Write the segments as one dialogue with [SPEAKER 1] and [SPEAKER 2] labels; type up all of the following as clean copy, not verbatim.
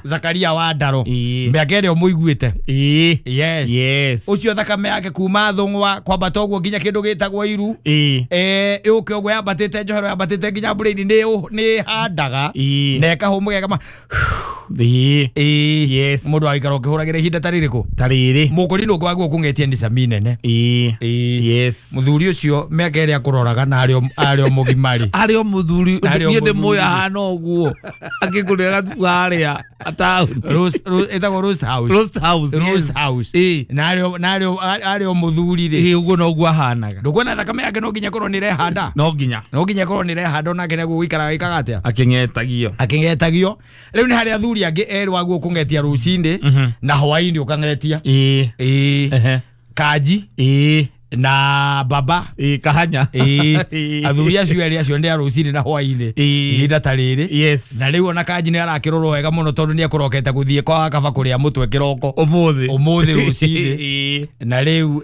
[SPEAKER 1] Zakaria wa Ndaro
[SPEAKER 2] Ĩĩ.
[SPEAKER 1] mĩaka ĩrĩa ũmũiguĩte.
[SPEAKER 2] Ĩĩ.
[SPEAKER 1] Yes.
[SPEAKER 2] Yes.
[SPEAKER 1] Ũcio thakame yake kuma thũng'wa kwambata ũguo nginya kĩndũ gĩtagwo iru.
[SPEAKER 2] Ĩĩ.
[SPEAKER 1] Ĩũke ũguo yambatĩte njohero yambatĩte nginya brain nĩ ĩhandaga
[SPEAKER 2] Ĩĩ.
[SPEAKER 1] na ĩkahũmũka ĩkama.
[SPEAKER 2] Ĩĩ.
[SPEAKER 1] Ĩĩ.
[SPEAKER 2] Yes.
[SPEAKER 1] Mũndũ agĩikara ũkĩhũragĩra ihinda ta rĩrĩkũ?
[SPEAKER 2] Ta rĩrĩ.
[SPEAKER 1] Mũkũrinũ ũngĩ waguo kũng'etia nĩ cami nene.
[SPEAKER 2] Ĩĩ.
[SPEAKER 1] Ĩĩ.
[SPEAKER 2] Yes.
[SPEAKER 1] Mũthuri ũcio mĩaka ĩrĩa akũroraga na arĩ o mũgima rĩ.
[SPEAKER 2] Arĩ o mũthuri
[SPEAKER 1] Arĩ o
[SPEAKER 2] niĩ ndĩ
[SPEAKER 1] mũthuri.
[SPEAKER 2] mũĩ ahana ũguo akĩngũrĩra gatubu harĩa taũni.
[SPEAKER 1] Ĩtagwo Roast House.
[SPEAKER 2] Roast House.
[SPEAKER 1] Roast House.
[SPEAKER 2] Ĩĩ.
[SPEAKER 1] Na arĩ o mũthuri rĩ.
[SPEAKER 2] Ĩĩ ũguo noguo ahanaga.
[SPEAKER 1] Ndũkuona thakame yake no nginya ĩkorwo nĩ ĩrehanda.
[SPEAKER 2] No nginya.
[SPEAKER 1] No nginya ĩkorwo nĩ ĩrehanda onake nĩguo gũikaraga ĩkaga atĩa?
[SPEAKER 2] Akĩng'etagio.
[SPEAKER 1] Akĩng'etagio. Rĩu nĩ harĩ athuri angĩ erĩ waguo kũng'etia rũcinĩ na hwaĩ-inĩ ũkang'etia.
[SPEAKER 2] Ĩĩ.
[SPEAKER 1] Ĩĩ.
[SPEAKER 2] Ehe.
[SPEAKER 1] Kanji
[SPEAKER 2] Ĩĩ.
[SPEAKER 1] na baba.
[SPEAKER 2] Ĩĩ kahanya.
[SPEAKER 1] Ĩĩ.
[SPEAKER 2] Ĩĩ.
[SPEAKER 1] Athuri acio erĩ acio nĩ a rũcinĩ na hwaĩ-inĩ.
[SPEAKER 2] Ĩĩ.
[SPEAKER 1] Ihinda ta rĩrĩ.
[SPEAKER 2] Yes.
[SPEAKER 1] Na rĩu ona Kanji nĩ arakĩrorwo wega mũno tondũ nĩ ekũrokete gũthiĩ kwa kaba kũrĩa mũtwe kĩroko.
[SPEAKER 2] Ũmũthĩ.
[SPEAKER 1] Ũmũthĩ rũcinĩ.
[SPEAKER 2] Ĩĩ.
[SPEAKER 1] Na rĩu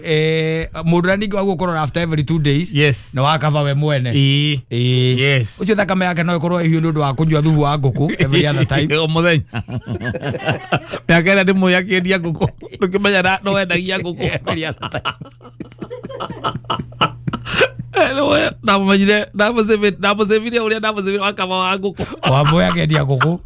[SPEAKER 1] mũndũ ũrĩa ningĩ waguo kũrora after every 2 days.
[SPEAKER 2] Yes.
[SPEAKER 1] Nĩ wakaba we mwene.
[SPEAKER 2] Ĩĩ.
[SPEAKER 1] Ĩĩ.
[SPEAKER 2] Yes.
[SPEAKER 1] Ũcio thakame yake no ĩkorwo ĩhiũ nĩ ũndũ wa kũnyua thubu wa ngũkũ every other time.
[SPEAKER 2] O mũthenya. Mĩaka ĩrĩa ndĩmũĩ akĩendia ngũkũ. Ndũkĩmenya no endagia ngũkũ.
[SPEAKER 1] Every other time.
[SPEAKER 2] Ndamũmenyire ndamũcĩvire ũrĩa ndamũcĩvire wakaba wa ngũkũ.
[SPEAKER 1] Wamũĩ akĩendia ngũkũ.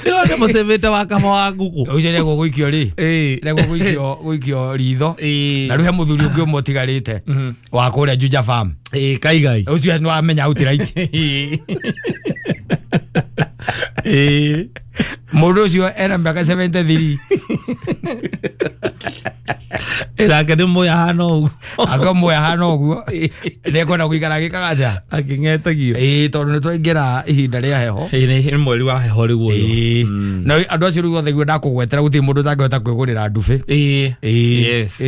[SPEAKER 2] Nĩwe ndĩmũcĩvĩte wakaba wa ngũkũ.
[SPEAKER 1] Ũcio nĩguo gũikio rĩ.
[SPEAKER 2] Ĩĩ.
[SPEAKER 1] Nĩguo gũikio ritho.
[SPEAKER 2] Ĩĩ.
[SPEAKER 1] Na rĩu he mũthuri ũngĩ ũmwe ũtigarĩte wa kũrĩa Juja Farm.
[SPEAKER 2] Ĩĩ kaigai.
[SPEAKER 1] Ũcio nĩ wamenya outright.
[SPEAKER 2] Ĩĩ. Ĩĩ.
[SPEAKER 1] Mũndũ ũcio ena mĩaka 73.
[SPEAKER 2] Nake nĩ mũĩ ahana ũguo.
[SPEAKER 1] Akamũĩ ahana ũguo. Nĩekwenda gũikara agĩkaga atĩa?
[SPEAKER 2] Akĩng'etagio.
[SPEAKER 1] Ĩĩ tondũ nĩ twaingĩra ihinda rĩa heho.
[SPEAKER 2] Ĩĩ nĩ mweri wa heho rĩu ũyũ.
[SPEAKER 1] Ĩĩ. Na andũ acio rĩu othe guo ndakũgwetera gũtirĩ mũndũ ũtangĩhota kwĩgũrĩra ndubĩ.
[SPEAKER 2] Ĩĩ.
[SPEAKER 1] Ĩĩ.
[SPEAKER 2] Yes.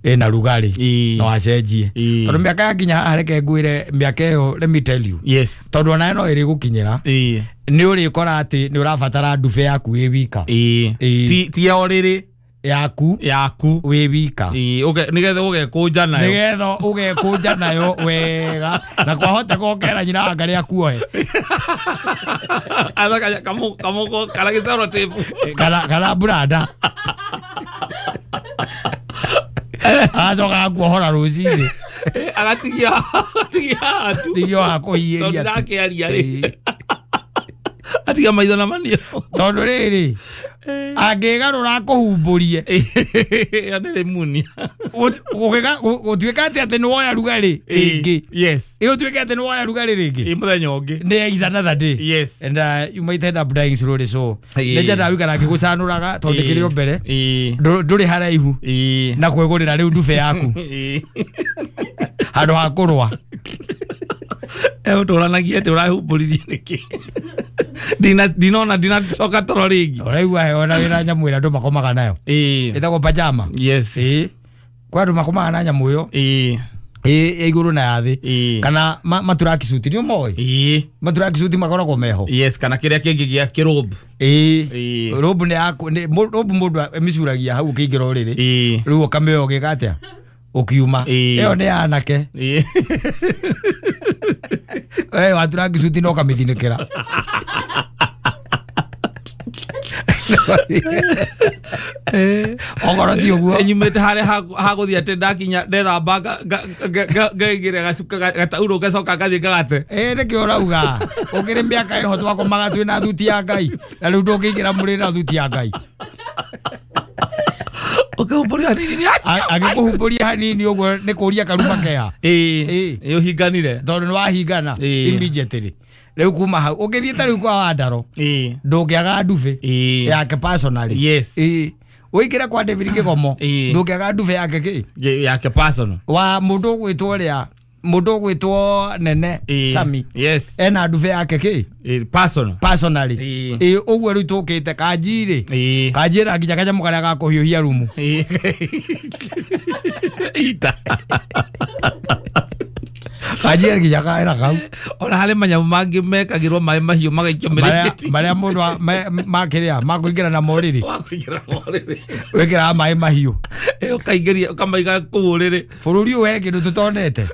[SPEAKER 1] Ĩna rugarĩ.
[SPEAKER 2] Ĩĩ.
[SPEAKER 1] No acenjie.
[SPEAKER 2] Ĩĩ.
[SPEAKER 1] Tondũ mĩaka yakinya haha reke ngwĩre mĩaka ĩyo let me tell you.
[SPEAKER 2] Yes.
[SPEAKER 1] Tondũ onawe no ĩrĩgũkinyĩra.
[SPEAKER 2] Ĩĩ.
[SPEAKER 1] Nĩ ũrĩkora atĩ nĩ ũrabatara ndubĩ yaku wĩ wika.
[SPEAKER 2] Ĩĩ.
[SPEAKER 1] Ĩĩ.
[SPEAKER 2] Ti ya ũrĩrĩ.
[SPEAKER 1] Yaku.
[SPEAKER 2] Yaku.
[SPEAKER 1] Wĩ wika.
[SPEAKER 2] Ĩĩ nĩgetha ũgekũnja nayo.
[SPEAKER 1] Nĩgetha ũgekũnja nayo wega. Na kwahota gokera nyina anga rĩa kuohe.
[SPEAKER 2] Athaka kamũko kana gĩcoro tape.
[SPEAKER 1] Kana branda. Agacoka agakuohora rũcinĩ.
[SPEAKER 2] Agatigia haha tu.
[SPEAKER 1] Tigio hakũhiĩria
[SPEAKER 2] Tondũ
[SPEAKER 1] tu.
[SPEAKER 2] ndakĩaria rĩ. Atiga maitho na manio.
[SPEAKER 1] Tondũ rĩrĩ angĩgarũra akũhumbũrie.
[SPEAKER 2] Ĩyo nĩ rĩmunia.
[SPEAKER 1] Gũtuĩka atĩ atĩ nĩ woya rugarĩ rĩngĩ.
[SPEAKER 2] Yes.
[SPEAKER 1] Ĩ ũtuĩke atĩ nĩ woya rugarĩ rĩngĩ.
[SPEAKER 2] Ĩ mũthenya ũngĩ.
[SPEAKER 1] Nĩ is another day.
[SPEAKER 2] Yes.
[SPEAKER 1] And you might end up dying slowly so.
[SPEAKER 2] Ĩĩ.
[SPEAKER 1] Nĩ nyendaga gũikara ngĩgũcanũraga tondũ kĩrĩ o mbere.
[SPEAKER 2] Ĩĩ.
[SPEAKER 1] Ndũrĩ haraihu.
[SPEAKER 2] Ĩĩ.
[SPEAKER 1] Na kwĩgũrĩra rĩu ndube yaku.
[SPEAKER 2] Ĩĩ.
[SPEAKER 1] Handũ ha kũrũa.
[SPEAKER 2] Ũtũranagia atĩ ũrahumbũririe nĩkĩ? Ndinona ndinacoka toro rĩngĩ.
[SPEAKER 1] Ũraigua heho na wĩna nyamũ ĩrĩa andũ makomaga nayo.
[SPEAKER 2] Ĩĩ.
[SPEAKER 1] Ĩtagwo pajama.
[SPEAKER 2] Yes.
[SPEAKER 1] Ĩĩ. Kwa andũ makomaga na nyamũ ĩyo.
[SPEAKER 2] Ĩĩ.
[SPEAKER 1] Ĩĩ ya igũrũ na ya thĩ.
[SPEAKER 2] Ĩĩ.
[SPEAKER 1] Kana maturaki-suit nĩ ũmoĩ?
[SPEAKER 2] Ĩĩ.
[SPEAKER 1] Maturaki-suit makoragwo meho.
[SPEAKER 2] Yes, kana kĩrĩa kĩngĩ gĩa kĩrũmbu.
[SPEAKER 1] Ĩĩ.
[SPEAKER 2] Ĩĩ.
[SPEAKER 1] Rũmbu nĩ yaku rũmbu mũndũ ĩmĩcuragia hau ũkĩingĩra ũrĩrĩ.
[SPEAKER 2] Ĩĩ.
[SPEAKER 1] Rĩu ũkamĩoya ũgĩka atĩa? Ũkiuma.
[SPEAKER 2] Ĩĩ.
[SPEAKER 1] Ĩyo nĩ anake.
[SPEAKER 2] Ĩĩ.
[SPEAKER 1] We waturaki-suit no ũkamĩthinĩkĩra. Okorwo ti ũguo.
[SPEAKER 2] Nyumĩte harĩa hagũthiĩ atĩ ndakinya ndethamba ngaigĩrĩra gacuka gataurũ ngacoka ngathiĩ ngagate.
[SPEAKER 1] Ĩĩ nĩkĩo ũrauga. Ũkĩrĩ mĩaka ĩho twakomaga twĩna thuti ya Ngai. Na rĩu ndũngĩingĩra mũrĩrĩ na thuti ya Ngai.
[SPEAKER 2] Ũkĩhumbũria hanini nĩ acio.
[SPEAKER 1] Agĩkũhumbũria hanini ũguo nĩ kũria karuma keha.
[SPEAKER 2] Ĩĩ.
[SPEAKER 1] Ĩĩ.
[SPEAKER 2] Ĩĩ ũhinganire.
[SPEAKER 1] Tondũ nĩ wahingana
[SPEAKER 2] Ĩĩ.
[SPEAKER 1] immediately. Rĩu kuma hau ũngĩthiĩ ta rĩu kwa Wandaro
[SPEAKER 2] Ĩĩ.
[SPEAKER 1] ndũngĩaga ndubĩ
[SPEAKER 2] Ĩĩ.
[SPEAKER 1] yake personally.
[SPEAKER 2] Yes.
[SPEAKER 1] Ĩĩ. Ũingĩre kwa David Kĩgomo
[SPEAKER 2] Ĩĩ.
[SPEAKER 1] ndũngĩaga ndubĩ yake kĩ?
[SPEAKER 2] Yake personal.
[SPEAKER 1] Wa mũndũ ũgwĩtwo ũrĩa mũndũ ũgwĩtwo Nene
[SPEAKER 2] Ĩĩ.
[SPEAKER 1] Sami.
[SPEAKER 2] Yes.
[SPEAKER 1] Ena ndubĩ yake kĩ?
[SPEAKER 2] Ĩĩ personal.
[SPEAKER 1] Personally.
[SPEAKER 2] Ĩĩ.
[SPEAKER 1] Ĩĩ ũguo rĩu tũkĩte Kanji rĩ.
[SPEAKER 2] Ĩĩ.
[SPEAKER 1] Kanji ĩna nginya kanyamũ karĩa ga kũhiũhia rumu.
[SPEAKER 2] Ĩĩ. Ita.
[SPEAKER 1] Kanji ĩna nginya kaera kau.
[SPEAKER 2] Ona harĩ manyamũ mangĩ mekagĩrwo maĩ mahiũ magaikio mĩrĩngĩti.
[SPEAKER 1] Marĩa mũndũ makĩrĩa makũingĩra na morĩrĩ.
[SPEAKER 2] Wakũingĩra morĩrĩ.
[SPEAKER 1] Wĩkĩraga maĩ mahiũ.
[SPEAKER 2] Ĩĩ ũkaingĩria ũkamaiga kũu ũrĩrĩ.
[SPEAKER 1] Bũrũri ũyũ he kĩndũ tũtonete.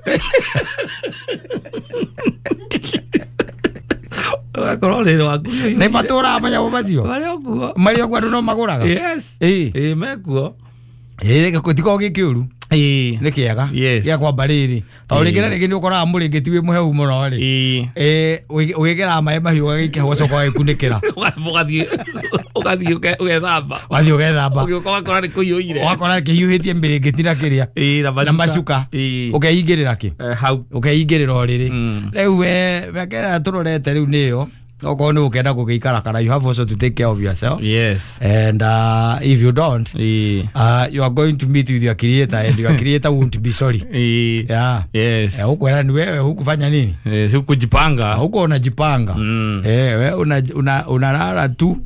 [SPEAKER 2] Ũgakorwo ũrĩrĩ waku
[SPEAKER 1] Nĩ matũraga manyamũ macio.
[SPEAKER 2] Marĩ o kuo.
[SPEAKER 1] Marĩ o kuo andũ no magũraga.
[SPEAKER 2] Yes.
[SPEAKER 1] Ĩĩ.
[SPEAKER 2] Ĩĩ mekuo.
[SPEAKER 1] Ĩĩ tiko gĩkĩũru.
[SPEAKER 2] Ĩĩ.
[SPEAKER 1] Nĩ kĩega.
[SPEAKER 2] Yes.
[SPEAKER 1] Gĩa kwamba rĩrĩ. Tondũ rĩngĩ na rĩngĩ nĩ ũkoraga mũrĩngĩti wĩ mũhehu mũno rĩ.
[SPEAKER 2] Ĩĩ.
[SPEAKER 1] Ĩĩ ũgĩkĩraga maĩ mahiũ ũgagĩikia ũgacoka ũgagĩkunĩkĩra.
[SPEAKER 2] Ũgathiĩ ũgathiĩ ũgethamba.
[SPEAKER 1] Wathiĩ ũgethamba.
[SPEAKER 2] Ũgĩũka ũgakora nĩ kũiyũire.
[SPEAKER 1] Ũgakora kĩhiũhĩtie mĩrĩngĩti na kĩrĩa.
[SPEAKER 2] Ĩĩ na
[SPEAKER 1] Na macuka.
[SPEAKER 2] Ĩĩ.
[SPEAKER 1] Ũkeingĩrĩra kĩ?
[SPEAKER 2] Hau.
[SPEAKER 1] Ũkeingĩrĩra ũrĩrĩ. Rĩu we mĩaka ĩrĩa tũrorete rĩu nĩyo. Okorwo nĩ ũkenda gũgĩikara kana you have also to take care of yourself.
[SPEAKER 2] Yes.
[SPEAKER 1] And if you don't,
[SPEAKER 2] Ĩĩ.
[SPEAKER 1] you are going to meet with your creator and your creator won't be sorry.
[SPEAKER 2] Ĩĩ.
[SPEAKER 1] Yeah.
[SPEAKER 2] Yes.
[SPEAKER 1] Huku ni wewe hukufanya nini?
[SPEAKER 2] Si kujipanga.
[SPEAKER 1] Huko unajipanga. We unalala tu,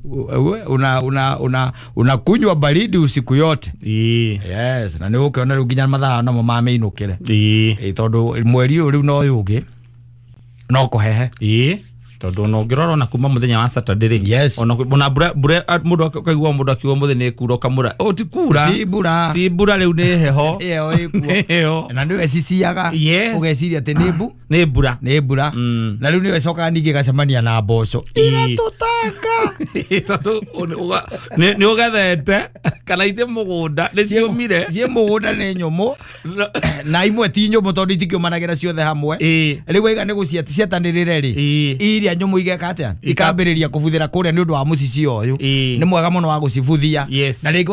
[SPEAKER 1] unakunywa baridi usiku yote.
[SPEAKER 2] Ĩĩ.
[SPEAKER 1] Yes, na nĩ ũkĩona rĩu nginya mathaa namo mamĩinũkĩre.
[SPEAKER 2] Ĩĩ.
[SPEAKER 1] Tondũ mweri ũyũ rĩu no ũyũ ũngĩ no kũhehe.
[SPEAKER 2] Ĩĩ. Tondũ ona ũngĩrora ona kuma mũthenya wa Saturday rĩ.
[SPEAKER 1] Yes.
[SPEAKER 2] Ona mbura mbura mũndũ akaigua mũndũ akiuga mũthĩ nĩ kura ũkamũra. Oh ti kura.
[SPEAKER 1] Ti mbura.
[SPEAKER 2] Ti mbura rĩu nĩ heho.
[SPEAKER 1] Ĩyo ĩkuo.
[SPEAKER 2] Heho.
[SPEAKER 1] Na nĩwe ciciaga.
[SPEAKER 2] Yes.
[SPEAKER 1] Ũgeciria atĩ nĩ mbu.
[SPEAKER 2] Nĩ mbura.
[SPEAKER 1] Nĩ mbura. Na rĩu nĩwe ĩcokaga ningĩ ĩgacemania na mboco. Igatũtanga.
[SPEAKER 2] Tondũ nĩ ũgethete kana ithe mũgũnda nĩ ciũmire.
[SPEAKER 1] Ciĩ mũgũnda nĩ nyũmũ. Na imwe ti nyũmũ tondũ itikĩũmanagĩra ciothe hamwe. Rĩu waiga nĩ gũciatanĩrĩre rĩ. Iria nyũmũ igeka atĩa? Ikambĩrĩria kũbuthĩra kũrĩa nĩ ũndũ wa mũcicio ũyũ. Nĩ mwega mũno wa gũcibuthia.
[SPEAKER 2] Yes.
[SPEAKER 1] Na rĩngĩ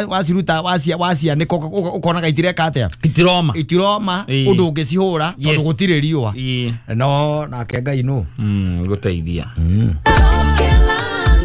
[SPEAKER 1] waciruta wacianĩka ũkonaga itireka atĩa?
[SPEAKER 2] Itiroma.
[SPEAKER 1] Itiroma ũndũ ũngĩcihũra tondũ gũtirĩ riũa. No nake Ngai nũ.
[SPEAKER 2] Gũteithia.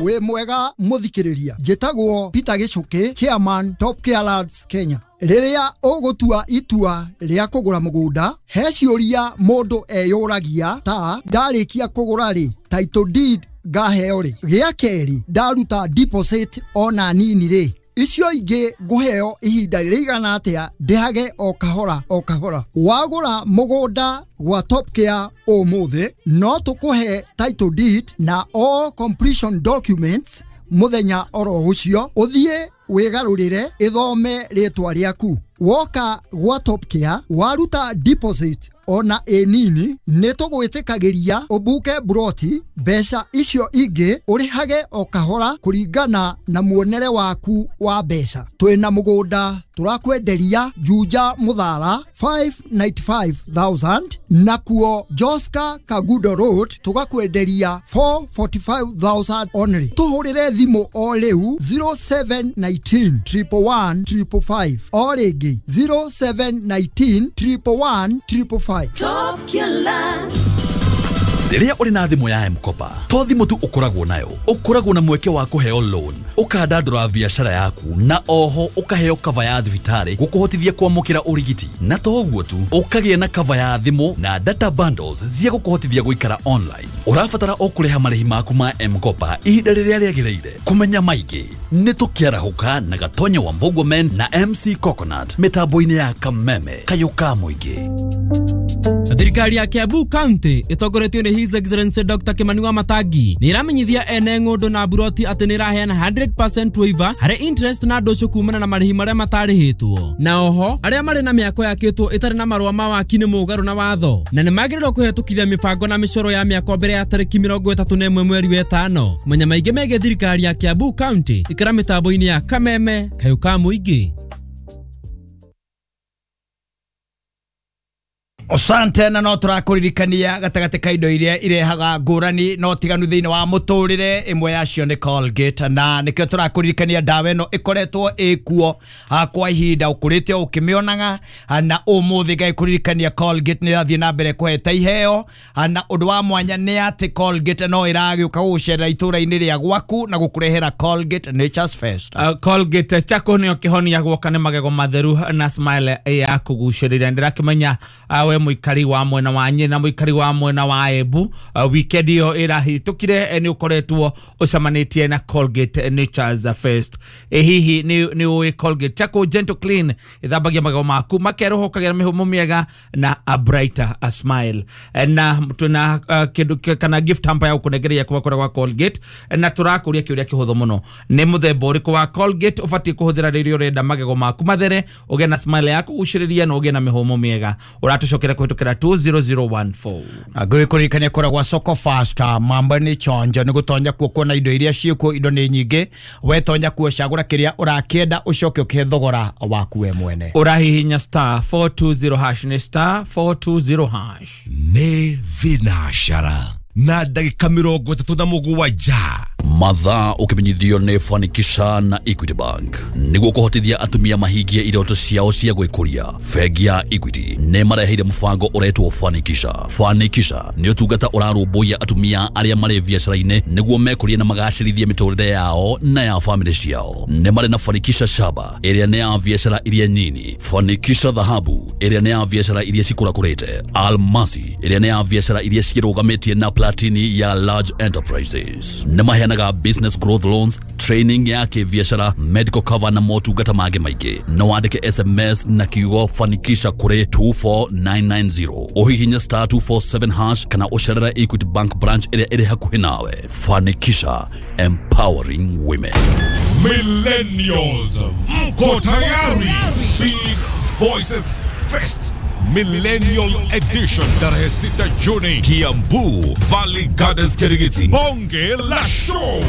[SPEAKER 3] Wĩ mwega mũthikĩrĩria. Njĩtagwo Peter Gĩcũkĩ, Chairman Top Care Lads Kenya. Rĩrĩa ũgũtua itua rĩa kũgũra mũgũnda, he ciũria mũndũ eyũragia ta ndarĩkia kũgũra rĩ, title deed ngaheo rĩ, gĩa kerĩ ndaruta deposit ona nini rĩ, icio ingĩ ngũheo ihinda rĩigana atĩa ndĩhage o kahora o kahora. Wagũra mũgũnda gwa Top Care ũmũthĩ no tũkũhe title deed na all completion documents mũthenya oro ũcio, ũthiĩ wĩgarũrĩre ĩthome rĩtwa rĩaku. Woka gwa Top Care waruta deposit ona ĩ nini nĩ tũgwĩtĩkagĩria ũbuke buroti, mbeca icio ingĩ ũrĩhage o kahora kũringana na muonere waku wa mbeca. Twĩna mũgũnda tũrakwenderia Juja Mũthara 595,000 nakuo Joska Kagudo Road tũgakwenderia 445,000 only. Tũhũrĩre thimũ o rĩu 0719 111 555 o rĩngĩ 0719 111 555.
[SPEAKER 4] Top Care Lads.
[SPEAKER 5] Rĩrĩa ũrĩ na thimũ ya M-Kopa, to thimũ tu ũkoragwo nayo, ũkoragwo na mweke wa kũheo loan, ũkandandũra biacara yaku, na oho ũkaheo cover ya thibitarĩ gũkũhotithia kwamũkĩra ũrigiti. Na to ũguo tu, ũkagĩa na cover ya thimũ na data bundles cia gũkũhotithia gũikara online. Ũrabatara o kũrĩha marĩhi maku ma M-Kopa ihinda rĩrĩa rĩagĩrĩire. Kũmenya maingĩ nĩ tũkĩarahũka na Gatonya wa Mbogwa Men na MC Coconut mĩtambo-inĩ ya Kameme kayũ ka mũingĩ.
[SPEAKER 6] Thirikari ya Kiambu County ĩtongoretio nĩ His Excellency Dr. Kimani Wamatangi nĩ ĩramenyithia ene ng'ũndũ na buroti atĩ nĩ ĩraheana 100% waiver harĩ interest na ndũcũ kumana na marĩhi marĩa matarĩhĩtwo. Na oho arĩa marĩ na mĩako yakĩtwo ĩtarĩ na marũa ma waki nĩ mũgarũ na watho na nĩ magĩrĩirwo kũhetũkithia mĩbango na mĩcoro ya mĩako mbere ya tarĩki 31 mweri wa ĩtano. Kũmenya maingĩ megiĩ thirikari ya Kiambu County ikara mĩtambo-inĩ ya Kameme kayũ ka mũingĩ.
[SPEAKER 1] Asante na no tũrakũririkania gatagatĩ ka indo iria irehaga ngũrani no tiganu thĩinĩ wa mũtũrĩre, ĩmwe yacio nĩ Colgate, na nĩkĩo tũrakũririkania ndawa ĩno ĩkoretwo ĩkuo kwa ihinda ũkũrĩte o ũkĩmĩonaga, na ũmũthĩ ngagĩkũririkania Colgate nĩ ĩrathiĩ na mbere kũheta iheo, na ũndũ wa mwanya nĩ atĩ Colgate no ĩragĩũka gũgũcerera itũra-inĩ rĩa gwaku na gũkũrehera Colgate Nature's Fest.
[SPEAKER 2] Colgate chako nĩyo kĩhonia gwoka nĩ magego matheru na smile ya kũgucĩrĩria. Ndĩrakĩmenya we mũikari wa mwena wa Nyeri na mũikari wa mwena wa Embu, weekend ĩyo ĩrahĩtũkire nĩ ũkoretwo ũcemanĩtie na Colgate Nature's Fest. Hihi nĩ ũĩ Colgate Charcoal Gentle Clean ĩthambagia magego maku makerũha ũkagĩa na mĩhũmũ mĩega na a brighter a smile. Na twĩna kĩndũ kana gift hamper ya gũkũnengereria kuma kũrĩa gwa Colgate, na tũrakũria kĩũria kĩhũthũ mũno, nĩ mũthemba ũrĩkũ wa Colgate ũbatiĩ kũhũthĩra rĩrĩa ũrenda magego maku mathere, ũgĩe na smile ya kũgucĩrĩria na ũgĩe na mĩhũmũ mĩega. Ũratũcokeria Twamũkĩre kũhĩtũkĩra 20014.
[SPEAKER 1] Ngũrĩkũririkania kũrĩa gwa Soko Fasta mambo nĩ chonjo nĩ gũtonya kuo kuona indo iria ciĩkuo, indo nĩ nyingĩ, wetonya kuo cagũra kĩrĩa ũrakĩenda ũcoke ũkĩhe thogora waku we mwene.
[SPEAKER 2] Ũrahihinya star 420 hash, nĩ star 420 hash.
[SPEAKER 7] Nĩ thinacara na ndagĩka 37.
[SPEAKER 5] Mathaa ũkĩmenyithio nĩ Fanikisha na Equity Bank nĩguo kũhotithia atumia mahingie iroto ciao cia gwĩkũria. Bengi ya Equity nĩ mareheire mũbango ũretwo Fanikisha. Fanikisha nĩ ũtungata ũrarũmbũiya atumia arĩa marĩ biacara-inĩ nĩguo mekũrie na magacĩrithie mĩtũrĩre yao na ya famĩlĩ ciao. Nĩ marĩ na Fanikisha Shaba ĩrĩa nĩ ya biacara iria nyini, Fanikisha Dhahabu ĩrĩa nĩ ya biacara iria cikũrakũrĩte, Almasi ĩrĩa nĩ ya biacara iria ciĩrũgamĩtie na Platini ya large enterprises. Nĩ maheanaga business growth loans, training ya kĩbiacara, medical cover na motungata mangĩ maingĩ. No wandĩke SMS na kiugo Fanikisha kũrĩ 24990, ũhihinye star 247 hash kana ũcerere Equity Bank branch ĩrĩa ĩrĩ hakuhĩ nawe. Fanikisha, empowering women.
[SPEAKER 7] Millennials, mko tayari? Big Voices Fest Millennial Edition tarehe 6 Juni, Kiambu Valley Gardens, Kirigiti. Bonge la show.